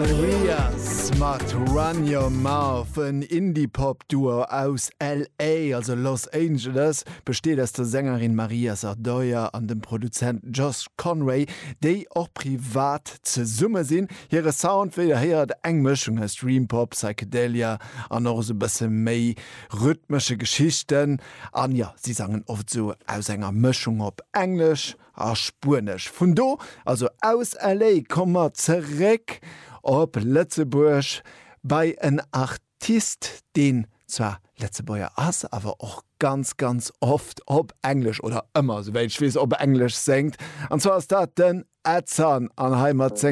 Marias mat Run Your Mouth, en Indie-Pop-Duo aus LA, also Los Angeles, besteet aus der Sängerin Maria Sardoya an dem Produzent Josh Conway, déi och privat zesumme sinn. Hire Sound, wéi der héiert, eng Mëschung aus Dream-Pop, Psychedelia an och esou e bësse méi rhythmesche Geschichten. An jo, si sangen oft esou aus enger Mëschung op Englesch a Spuenesch. Vun do, also aus LA, komme mer zeréck op Lëtzebuerg bei en Artist, deen zwar Lëtzebuerger ass, awer och ganz, ganz oft op Englesch, oder ëmmer, souwäit ech weess, op Englesch séngt. An zwar ass dat den Ed Sun an hei mat sengem.